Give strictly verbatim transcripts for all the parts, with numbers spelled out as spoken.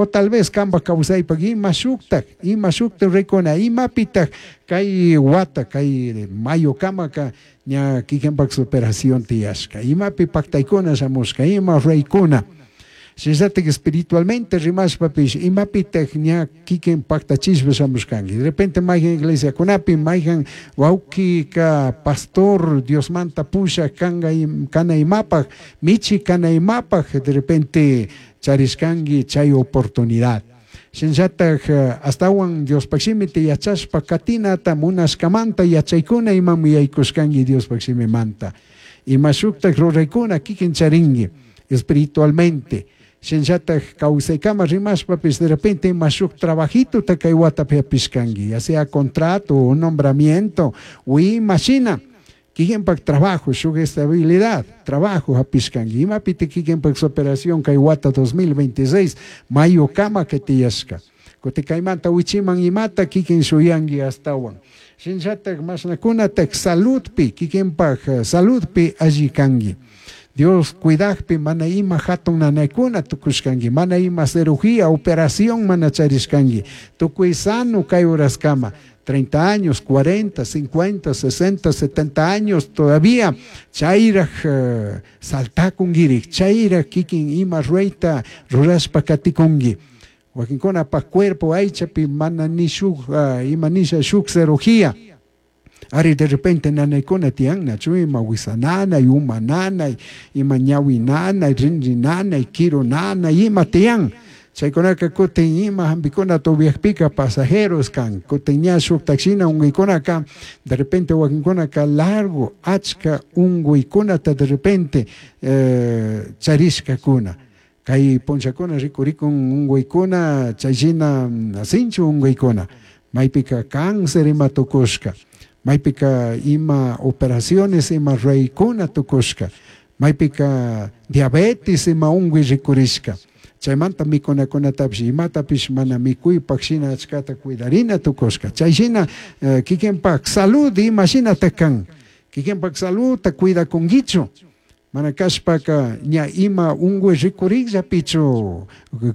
O tal vez kambaj kawsaypak ima shuktak, ima shuktak rikuna, imapitak kay wata, kay mayo kamaka ña kikinpak superación tiyashka, imapi paktaykuna shamushka, ima ruraykuna. Shinallatak espiritualmente rimashpapish imapitak ña kikin paktachishpa shamushkanki. De repente mayhan iglesiakunapi, mayhan wawkika pastor Diosmanta pushak kanka kana imapak, michi kana imapak, de repente charishkanki chay oportunidad. Shinallatak astawan Diospak shimita yachashpa katinata munashkamanta yachaykuna imami yaykushkanki Diospak shimimanta. Ima shuktak ruraykuna kikin charinki espiritualmente. Shinallatak kawsaykama rimashpapis de repente ima shuk trabajituta kay watapi hapishkanki, ya sea contrato, un nombramiento, o ima shina, kikinpak trabajo, shuk estabilidad, trabajo hapishkanki. Imapiti kikinpak superación kay wata dos mil veintiséis, mayo kama que tiyashka. Kuti kaymanta wichiman imata kikin shuyanki astawan. Shinallatak mashnakunatak saludpi, kikinpak saludpi alli kanki. Dios cuidakpi mana ima hatun nanaykuna tukushkanki, mana ima cirugía, operación mana charishkanki. Tukuy sano kay horaskama, treinta años, cuarenta, cincuenta, sesenta, setenta años todavía chayraj, eh, saltakunkirik, chayraj kikin ima rurayta rurashpa katikunki. Wakinkunapaj cuerpo aychapi mana ni shuk, eh, ima nisha shuk cirugía. Ari de repente nanaykuna tiyan, nachu ima wisa nanay, uma nanay, ima ñawi nanay, rinri nanay, kiru nanay, ima tiyan. Chaykunaka kutin ima hampikuna tubiakpika pasajeros kan, kutin ña shuktak shina unguikunaka, de repente wakinkunaka largo, achka unguikunata de repente, eh, charishkakuna. Kay punchakuna rikurikun unguikuna, chay shina sinchu unguikuna, maypika cáncer ima tukushka, maypika ima operaciones ima ruraykuna tukushka, maypika diabetes ima ungui rikurishka. Chaymanta mikunakunatapish imatapish mana mikuypak shina achkata cuidarina tukushka. Chay shina, eh, kikinpak salud ima shinata kan, kikinpak saludta cuidakunkichu. Mana kashpaka ña ima ungui rikurikllapichu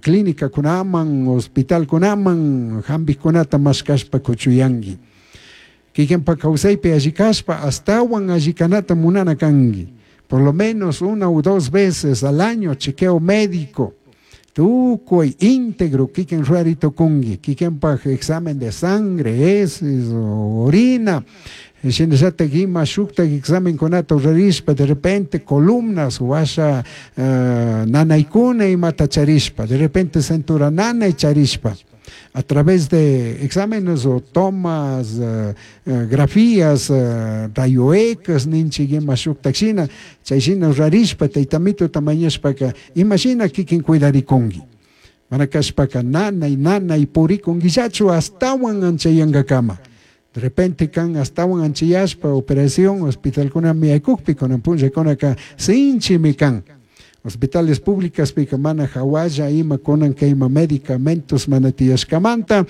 clínica kunaman, hospital kunaman, hampikunata mashkashpa kuchuyanki. Kikinpak kawsaypi alli kashpa astawan alli kanata munana kanki. Por lo menos una o dos veces al año chequeo médico. Tukuy íntegro kikin rurari tukunki, kikinpak examen de sangre, heces, orina. Shinallatak ima shuktak examen kunata rurarishpa, de repente columnas, washa, eh, nanaykuna imata charishpa, de repente cintura nanay charishpa. A través de exámenes o tomas, eh, eh, grafías, eh, rayo X, ninchik ima shuktak shina, chay shina rurarishpa, taytamito tamañashpaka, ima shina kikin cuidarikunki. Mana kashpaka nanay, nanay purikunkillachu astawan anchayankakama. De repente kan astawan anchayashpa operación hospitalkunami aykukpi, kunan punllakunaka sinchimi kan. Hospitales públicas pika mana hawalla ima kunan kay ima medicamentos mana tiyashkamanta,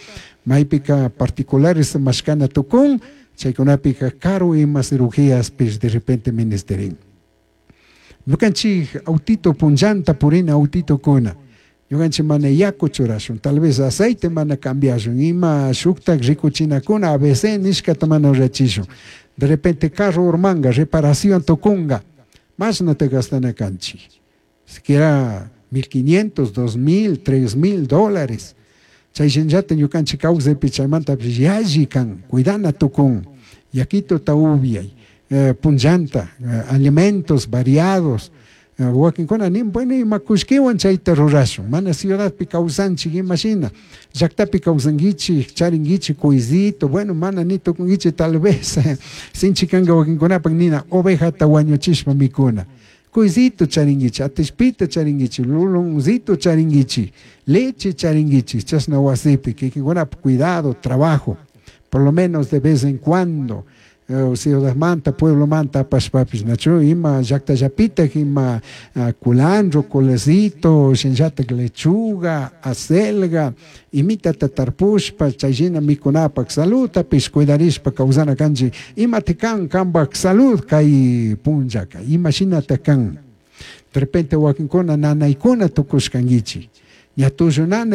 maypika particulares mashkana tukun, chaykunapika karu ima cirugías pis de repente ministerin. Ñukanchik autito punllanta purina autito kuna. Ñukanchik mana yaku churashun, tal vez aceite mana cambiashun, ima shuktak rikuchinakuna A B C nishkata mana rurachishun. De repente carro urmanga, reparación tukunga, masna te gastana kanchik. Siquiera mil quinientos, dos mil, tres mil dólares. Chay shinllata ñukanchik kawsaypi chaymanta yalli kan, cuidana tukun. Yakito taubiay, eh, punllanta, eh, alimentos variados. Eh, wakinkuna nin, bueno, ima kushkiwan chayta rurashun. Mana ciudadpi kawsanchik ima shina. Llaktapi kawsankichik, charinkichik kuysito, bueno, mana ni tukunkichik tal vez. Sinchi kanka wakinkunapak nina ovejata wañuchishpa mikuna. Kuysito charinkichik, atishpita charinkichik, luluncito charinkichik, leche charinkichik, chashna wasipi, kikinkunapak cuidado, trabajo, por lo menos de vez en cuando. Eh, ciudad manta, pueblo manta, apashpapis, nachu, ima llakta llapita, ima, eh, culantro, colecito, shinllata lechuga, acelga, imita tatarpushpa, chayshina mikunapak salud, tapis cuidarishpa kawsana kanchi, ima tikan kambak salud kay punllaka, ima shina takan. De repente wakinkuna nanaykuna tukushkankichik, ña tullu nanay